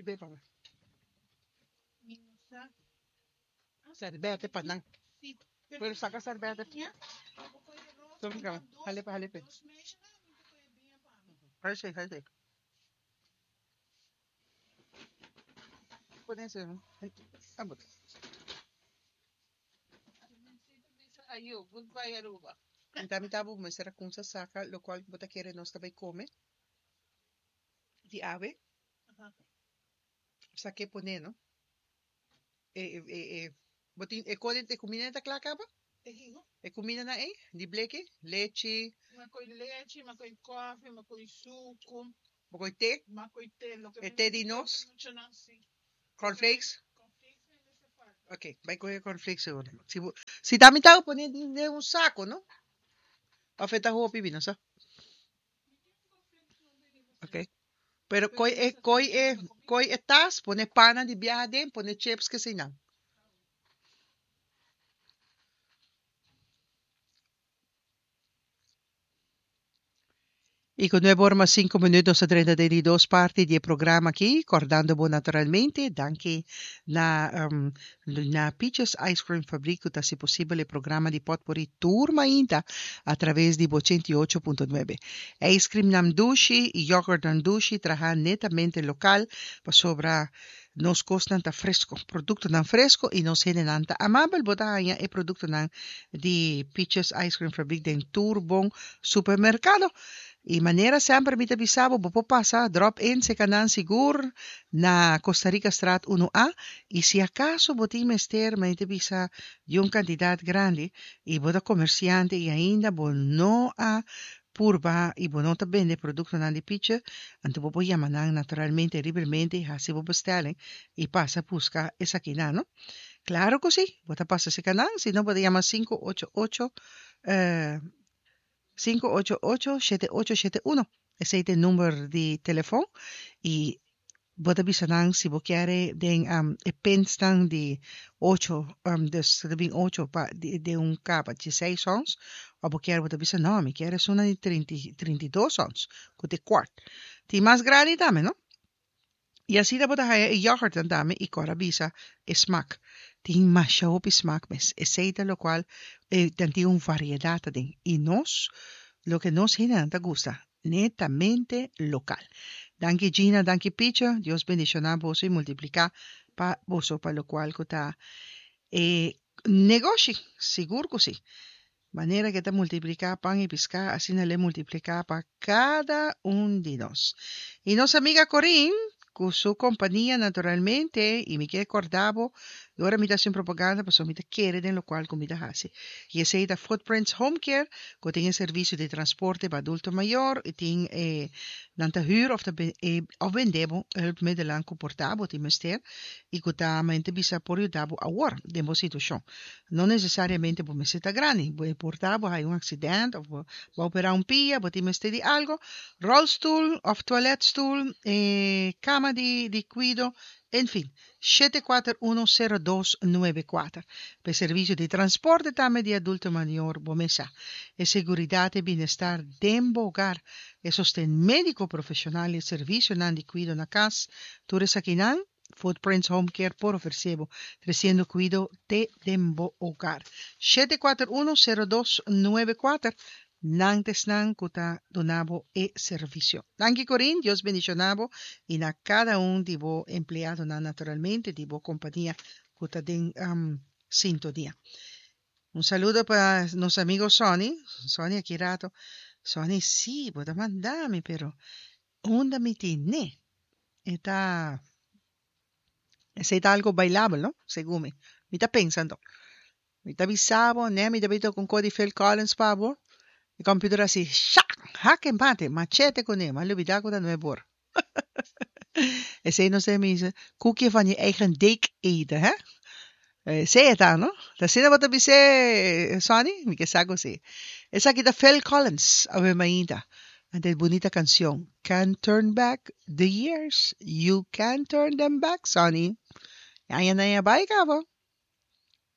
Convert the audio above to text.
Bebe pa mi. Serbete pa nan. Pero saca serbete. Hale pa, hale pa. Hale, hale. Pone ese. Abot. Ayo, goodbye Aruba. Anto mi tabo mester a cunsa saca locual bo ta kere nos ta bay come di awe. Sa ke pone no. E e e bo tin e kode e kumina ta kla kaba? E kiko? E kumina na ei di bleki, lechi. Ma koi lechi, ma koi kofi, ma koi suku. Bo koi te? Ma koi te, loke E te di nos? Muchanan si. Cornflakes? Cornflakes mi mester falta. Ok, bai kohe cornflakes awor. Si bo si ta mi ta pone den un sako no? Of e ta hopi mi no sa. Ok. Pero koi e koi e koi e tas, pone pana di biaha den, pone chips keseinan. Y cu nuebe ora mas cinco minuut nos ta drenta den di dos parti di e programa aki, cordando bo naturalmente danki na na Peaches Ice Cream Fabriek cu ta haci posibel e programa di Potpourri tur mainta a traves di bo ochenta i ocho punto nuebe. Ice creamnan dushi y yoghurtnan dushi traha netamente local pasobra nos kosnan ta fresco, productonan fresco y nos hendenan ta amabel. Bo ta haña e productonan di Peaches Ice Cream Fabriek den tur bon supermercado. Y manera semper mi ta bisa bo, bo por pasa drop in seca nan sigur na Costa Rica Straat uno A. Y si acaso bo tin mester, mi ta bisa di un cantidad grandi y bo ta comerciante y ainda bo no a purba y bo no ta bende productonan di Pietje, anto bo por yama nan naturalmente libremente y haci bo bestelling y pasa busca esakinan, no? Claro cu si, bo ta pasa seca nan, si no bo ta yama sinku ocho ocho, Sinku ocho ocho shete ocho shete uno esei ta e number di telefon y bo ta bisa nan si bo kier den e pinsnan di ocho dus ta bin ocho pa den un kapa di seis ons of bo kier bo ta bisa no mi kier esunnan di trinta i trinta i dos ons ku ta e kwart tin mas grandi tambe no. I asina bo ta haya e yoghurtnan tambe i kor a bisa e smak. Tin masha hopi smak mes. Esei ta lokual e nan tin un variedat aden. I nos, loke nos hendenan ta gusta, netamente lokal. Danki Gina, danki Picho, Dios bendishoná boso i multipliká pa boso pa lokual ku ta e negoshi. Sigur ku si. Manera ku e ta multipliká pan i piská, asina lo e multipliká pa kada un di nos. I nos amiga Corinne, ku su kompania naturalmente, i mi ke kòrda bo, i ora mi ta hasi un propaganda pasobra mi ta kere den lokual ku mi ta hasi. I esei ta Footprints Home Care, ku tin e servisio di transporte pa adulto mayor, i tin e nan ta hür òf ta òf bende bo hulpmiddelan ku por ta bo tin mester i ku ta mente bisa por yuda bo awor den bo situashon. No necesariamente bo mester ta grandi. Bo e por ta bo haya un accident of bo a opera un pia, bo tin mester di algo, rolstoel of toiletstoel, e cama di di cuido, enfin. Shete kuater uno sero dos nuebe kuater. Pa e servicio di transporte tambe di adulto mayor bo mes sa. E seguridad e bienestar den bo hogar, e sosten medico profesional y e servicionan di cuido na cas, tur esakinan Footprints Home Care por ofresé bo, tresiendo kuido te den bo hogar. Shete kuater unu, sero dos, nuebe kuater, nan ta esnan ku ta duna bo e servisio. Danki Corinne, Dios bendishoná bo i na kada un di bo empleadonan naturalmente di bo kompania ku ta den sintonia. Un saludo pa nos amigo Sonny, Sonny aki rato, Sonny si bo ta manda mi pero Unda mi tene? E ta, esei ta algo bailabel, no? Segun mi. Mi ta pensa anto. Mi ta bisa bo, ne mi ta bin toka un ko di Phil Collins pa bo. E computer a hasi sha! Hak e mate, machete kuné, mi a lubida ku ta nuebe or. Esei nos ta bisa, koekje van je eigen deeg eten, hè? Esei e ta, no? Ta asina bo ta bis'é, Sonny? Mi ke sa ku si. Esaki ta Phil Collins, awe mainta. Ante e bunita kanshon, Can't turn back the years, you can't turn them back, Sonny. E añanan a bai kaba.